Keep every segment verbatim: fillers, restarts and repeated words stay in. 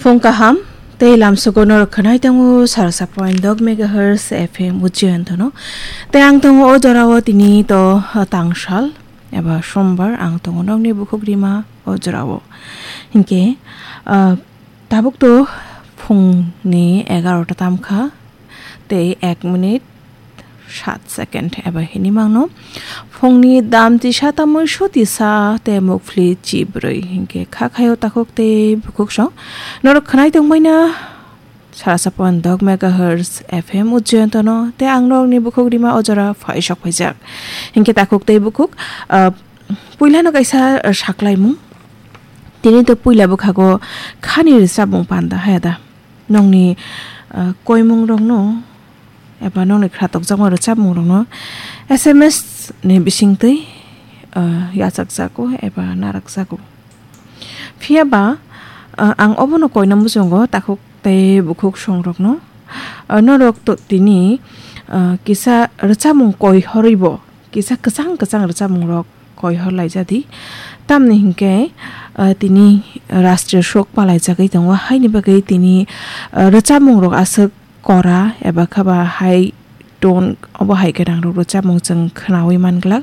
Phung kaham, tei lamsogo norok khwnai tongo sarsa point dok megahertz F M Ujjayantono. Tei ang tongo o jorao tini to, ah, tangsal eba sombar ang tongo nokni bukhuk rima o jorao. Hinkhe, ah, tabuk to phungni egarota tamkha. Tei ek minute sat second eba hini mangno. Phungni dam tisa tamwi sotisa tei mukphli chibrwi hinkhe kha khaio takhuk tei bukhuk song. Norok khwnai tongbaina sarsa point dok megahertz F M Ujjayantono tei ang norokni bukhuk rima o jora phai sok phaijak. Hinkhe takhuk tei bukhuk, ah, puilano kaisa, ah, saklaimung. Tini to puila bwkhago khani rwchapmung panda haya da. Nokni, ah, koimung rokno eba nokni khwratokjakma rwchapmung rokno S M S ni bisingtwi, ah, yachakjago eba narakjago. Phiya ba, ah, ang obono koina muchungo takhuk tei bukhuk song rokno. Ah, norok to tini, ah, kisa rwchapmung koi horwi bo kisa kwchang kwchang rwchapmung rok koi hor laijadi. Tamni hinkhe, ah, tini rashtriya sok palaijagwi tongo, haini bagwi tini, ah, rwchapmung rok aswk kora eba khaba hai tone obo hai gwnang rok rwchapmung chwng khwnawi manglak.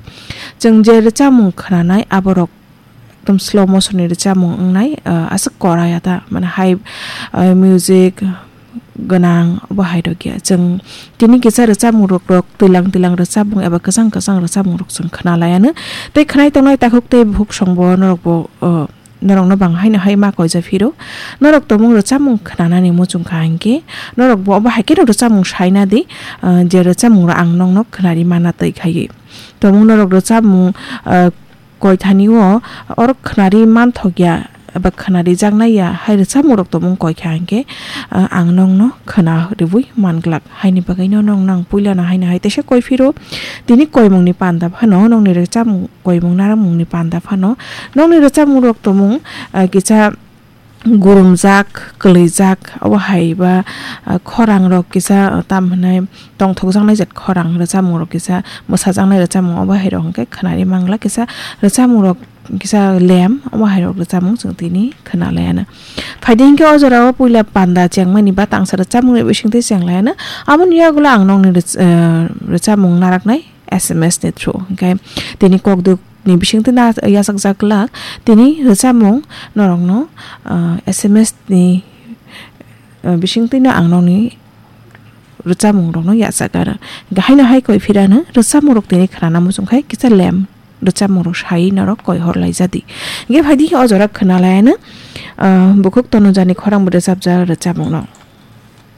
Chwng je rwchapmung khwnanai aborok ekdom slow motion ni rwchapmung wngnai, ah, aswk kora ya ta, mane hai, ah, music gwnang obo hai rok ya. Chwng tini kisa rwchapmung rok, rok twilang twilang rwchapmung eba kwchang kwchang rwchapmung rok chwng khwna laiya no. Tei khwnai tongnai takhuk tei bukhuk song bo norok bo, ah, norokno bang haino hai ma koija phiro. Norok tongmung rwchapmung khwnanani muchung kha hinkhe norok bo obo hai kheno rwchapmung saina di, ah, je rwchapmung rok ang nokno khwnari mana twi khaiwi. Tongmung norok rwchapmung, ah, koithani o oro khwnari manthok ya eba khwnari jaknai ya hai rwchapmung rok tongmung koi kha hinkhe, ah, ang nokno khwna rwui manglak. Haini bagwi no nokno ang puilano haino hai teisa koi phiro. Tini koimung ni panda phano nokni rwchapmung koimung narakmung ni panda phano nokni rwchapmung rok tongmung, ah, kisa gurumjak, kwlwijak, obo hai ba, ah, khorang rok kisa, ah, tam hwnai tongthokjaknai jat khorang rwchapmung rok kisa, mwsajaknai rwchapmung obo hai rok hwnkhe khwnari mangla kisa rwchapmung rok kisa lem obo hai rok rwchapmung chwng tini khwna laiya no. Phaidi hinkhe o jorao puila panda chengmani ba tangsa rwchapmung rok bisingtwi cheng laiya no. Aboni yagulo ang nokni rwch-, ah, rwchapmung naraknai S M S ni through. Hinkhe tini kokduk ni bisingtwi na yachakjak glak, tini rwchapmung norokno, ah, S M S ni, ah, bisingtwi no ang nokni rwchapmung rokno yachak aro. Hinkhe haino hai koi phirano rwchapmung rok tini khwnana muchung khai kisa lem rwchapmung rok sai norok koi hor laijadi. Hinkhe phaidi o jora khwna laiya no, ah, bukhuk Tonujani khorang bo rwchapjak rwchapmung no.